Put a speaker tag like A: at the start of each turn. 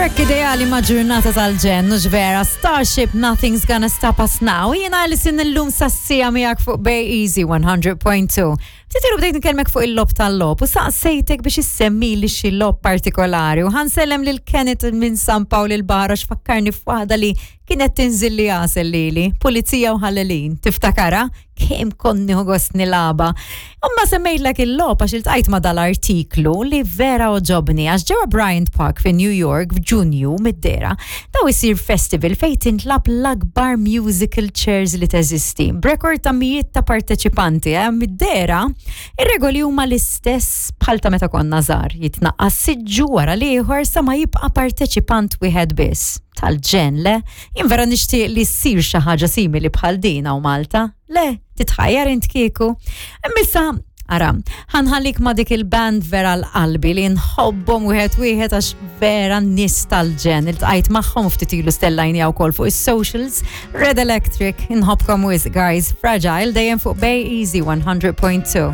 A: Track ideali ma' ġurnata tal-ġenn, mhux vera, Starship Nothing's Gonna Stop Us Now. Jiena Alison illum sassija miegħek fuq Bay Easy 100.2. Ftit ilu bdejt nkellmek fuq il-lob tal-lob u saqsejtek biex issemmi li xi lob partikolari u ħansellem lil Kenneth minn San Pawl il-Baħar għax fakkarni f'waħda li kienet tinżil li għasel lili, pulizija u ħallelin. Tiftakara? Kemm kont nieħu gost nilagħba. Imma semmejtlek il-logħob għax iltqajt ma' dal-artiklu li vera oġobni għax ġewwa Bryant Park fi New York f'Ġunju mid-dera daw isir festival fejn tintlab l-akbar musical chairs li teżisti. B'rekord ta' mijiet ta' parteċipanti, eh, mid-dera ir-regoli huma l-istess bħal ta' meta konna żgħar, jitnaqqas siġġu wara l-ieħor sa ma jibqa' parteċipant wieħed biss. Tal-ġenn, le? Jien vera nixtieq li ssir xi ħaġa simili bħal din hawn Malta. Le, titħajjar int kieku. Imma ara, ħanħallik ma dik il-band vera l-qalbi li nħobbhom wieħed wieħed għax vera nies tal-ġenn. Iltqajt magħhom ftit ilu stellajni wkoll fuq is-socials. Red Electric, inħobbkom wisq guys. Fragile dejjem fuq Bay Easy 100.2.